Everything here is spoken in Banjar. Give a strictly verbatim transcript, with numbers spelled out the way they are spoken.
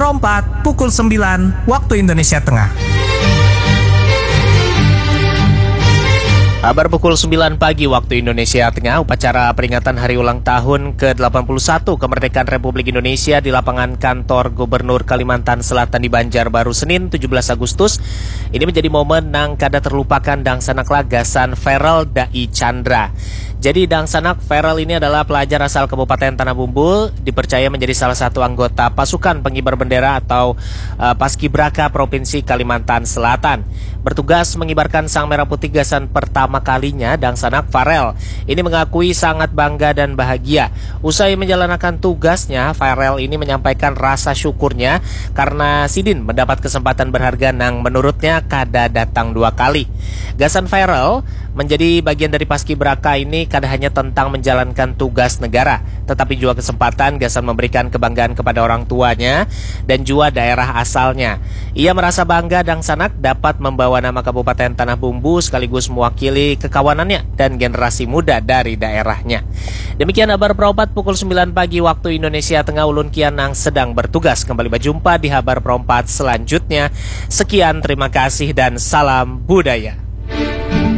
Empat, pukul sembilan, waktu Indonesia Tengah. Habar pukul sembilan pagi waktu Indonesia Tengah, upacara peringatan hari ulang tahun ke delapan puluh satu kemerdekaan Republik Indonesia di lapangan kantor Gubernur Kalimantan Selatan di Banjarbaru, Senin, tujuh belas Agustus. Ini menjadi momen nang kada terlupakan dangsanak lah gasan Feral Dai Chandra. Jadi, dangsanak, Feral ini adalah pelajar asal Kabupaten Tanah Bumbu, dipercaya menjadi salah satu anggota pasukan pengibar bendera atau, eh, Paskibraka Provinsi Kalimantan Selatan. Bertugas mengibarkan sang merah putih gasan pertama kalinya, dangsanak Farel ini mengakui sangat bangga dan bahagia. Usai menjalankan tugasnya, Farel ini menyampaikan rasa syukurnya karena sidin mendapat kesempatan berharga nang menurutnya kada datang dua kali. Gasan Farel, menjadi bagian dari Paskibraka ini kada hanya tentang menjalankan tugas negara, tetapi juga kesempatan gasan memberikan kebanggaan kepada orang tuanya dan juga daerah asalnya. Ia merasa bangga dangsanak dapat membawa nama Kabupaten Tanah Bumbu sekaligus mewakili kekawanannya dan generasi muda dari daerahnya. Demikian habar perompat pukul sembilan pagi waktu Indonesia Tengah, ulun Kian nang sedang bertugas. Kembali berjumpa di habar perompat selanjutnya. Sekian, terima kasih dan salam budaya.